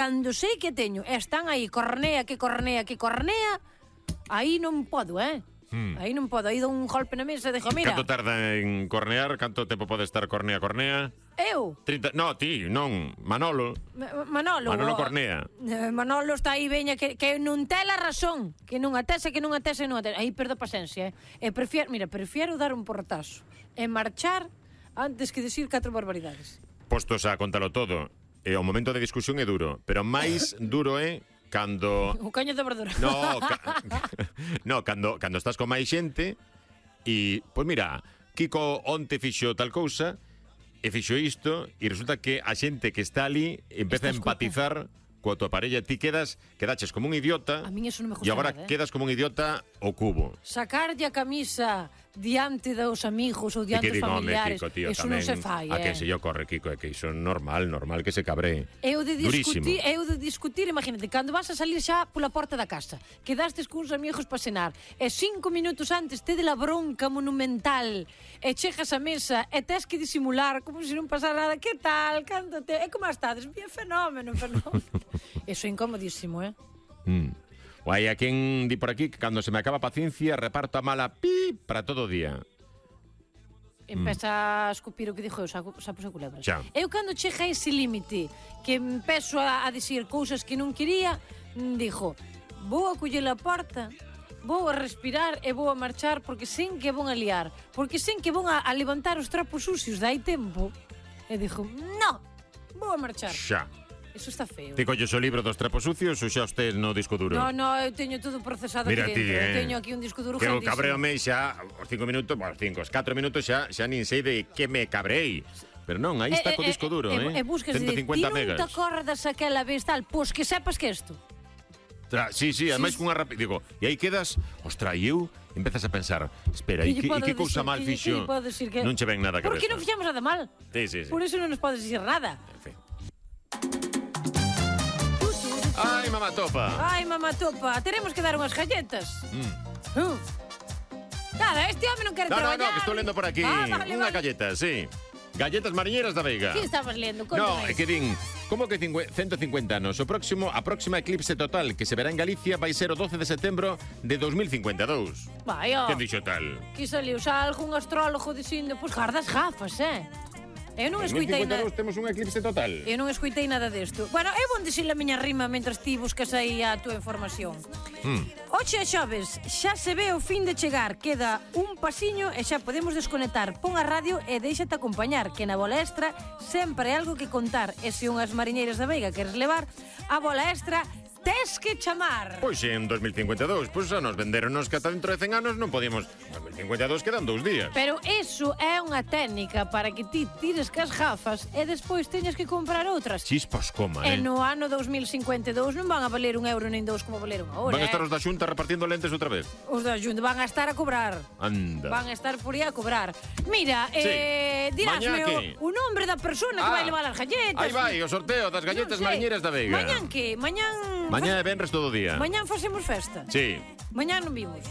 Cando sei que teño, están aí, cornea, aí non podo, Aí non podo, aí dou un golpe na mesa e dixo, mira... Canto tarda en cornear? Canto tempo pode estar cornea? Eu? 30... No, ti, non, Manolo. Manolo cornea. Manolo está aí, veña, que non ten a razón. Que non atese. Aí perdo paciencia, E prefiero dar un portazo e marchar antes que decir 4 barbaridades. Postos a contalo todo, o momento de discusión é duro, pero máis duro é cando... O caño de verdura. No, cando estás con máis xente e, pois mira, Kiko onte fixo tal cousa e fixo isto e resulta que a xente que está ali empeza a empatizar coa tua parella, ti quedaches como un idiota. A min eso non me gusta e agora nada, quedas como un idiota ao cubo. Sacarlle a camisa diante dos amigos ou diante dos familiares, Kiko, tío, eso tamén, non se fai, A que se yo corre, Kiko, é que iso é normal que se cabree. Eu de discutir, imagínate, cando vas a salir xa pola porta da casa, quedastes cuns amigos para cenar, e 5 minutos antes te de la bronca monumental, e chegas a mesa e tes que disimular como se non pasara nada. Que tal? Cántate? E como estades? Bien, fenómeno. Eso é incomodísimo, O hai a quen di por aquí que cando se me acaba a paciencia reparto a mala para todo o día. Empeza a escupir o que dixo sapos e culebras. Xa. Eu cando chega a ese límite que empezo a dicir cousas que non quería, dixo, vou a coller a porta, vou a respirar e vou a marchar porque sen que vou a liar, porque sen que vou a levantar os trapos sucios dai tempo. E dixo, no, vou a marchar. Xa. Eso está feo. Ti colles o libro dos trapos sucios ou xa usted no disco duro? No, eu teño todo procesado Mira aquí dentro. ti, Eu teño aquí un disco duro que o grandísimo. cabreome xa os 5 minutos, os 4 minutos xa nin sei de que me cabrei. Pero non, aí está co disco duro, E buscas 150 ti megas. non te acordas aquela vez tal, pois que sepas que isto. Sí, ademais cunha digo, e aí quedas, ostra, e eu empezas a pensar, espera, e que cousa mal fixo? Non che ven nada a cabeza. Porque non fixamos nada mal. Sí. Por eso non nos podes dicir nada. En fin. Ai, mamá topa, teremos que dar unhas galletas. Nada, este home non quere traballar. No, que estou lendo por aquí unha galleta, sí. Galletas mariñeiras da Veiga. Que estabas lendo? No, é que din, como que 150 anos? A próxima eclipse total que se verá en Galicia vai ser o 12 de setembro de 2052. Vai, Quen dixo tal? Que saliu xa algún astrólogo dicindo, pois gardas gafas, Eu non escuitei nada. En 2052 temos un eclipse total. Eu non escuitei nada desto. Bueno, eu vou dicir a miña rima mentras ti buscas aí a túa información. Oxe, xoves, xa se ve o fin de chegar. Queda un pasiño e xa podemos desconectar. Pon a radio e déixate acompañar, que na bola extra sempre hai algo que contar. E se unhas mariñeiras da Veiga queres levar, a bola extra tes que chamar. Pois en 2052, pois xa nos venderonos que ata dentro de 100 anos non podíamos. 2052 quedan 2 días. Pero eso é unha técnica para que ti tires cas gafas e despois teñas que comprar outras. Chispas coma, E no ano 2052 non van a valer €1 nin 2 como valeron agora. Van a estar os da Xunta repartindo lentes outra vez. Os da Xunta van a estar a cobrar. Anda. Van a estar por aí a cobrar. Mira, dirásme o nombre da persona que vai levar as galletas. Aí vai, o sorteo das galletas mariñeiras da Veiga. Mañán que? Mañá é venres todo o día. Mañán facemos festa. Sí. Mañán non vimos.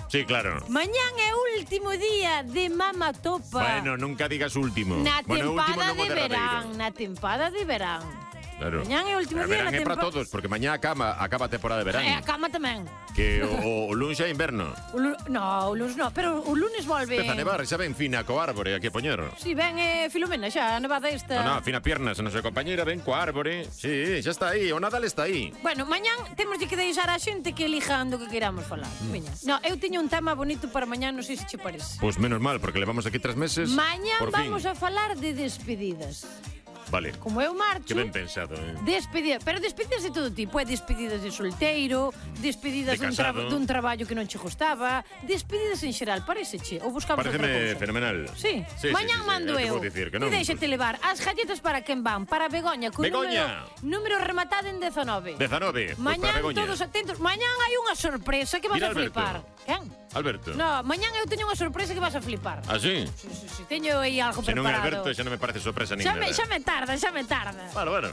Sí, claro. Mañán é o último día de Mama Topa. Bueno, nunca digas último. Na tempada de verán. verán. Na tempada de verán. Claro. Mañán é o último día da tempada. Verán é para todos, porque mañá acaba a temporada de verán. E a cama tamén. Que o lunes é inverno. No, o lunes no, pero o lunes volve. Empeza a nevar, xa ven fina co árbore aquí a poñer. Si, ven Filomena xa, a nevada esta. No, fina piernas, a nosa compañera ven co árbore. Sí, xa está aí, o Nadal está aí. Bueno, mañán temos que deixar a xente que elijan do que queramos falar. Veña. No, eu teño un tema bonito para mañán, non sei se che parece. Pois menos mal, porque levamos aquí 3 meses. Mañán vamos a falar de despedidas. Vale. Como eu marcho... Que ben pensado, Despedidas, pero despedidas de todo tipo. Despedidas de solteiro, despedidas dun traballo que non che gustaba, despedidas en xeral, paréceche? Ou buscamos outra cousa? Pareceme fenomenal. Sí. Mañán mando eu. Ti deixate levar. As galletas para quen van? Para Begoña, con número rematado en 19. 19. Mañán todos atentos. Mañán hai unha sorpresa que vas a flipar. Quen? Alberto. No, mañán eu teño unha sorpresa que vas a flipar. Ah, sí? Sí, teño aí algo preparado. Se non é Alberto, xa non me parece sorpresa nin nada. Xa me tarda. Bueno.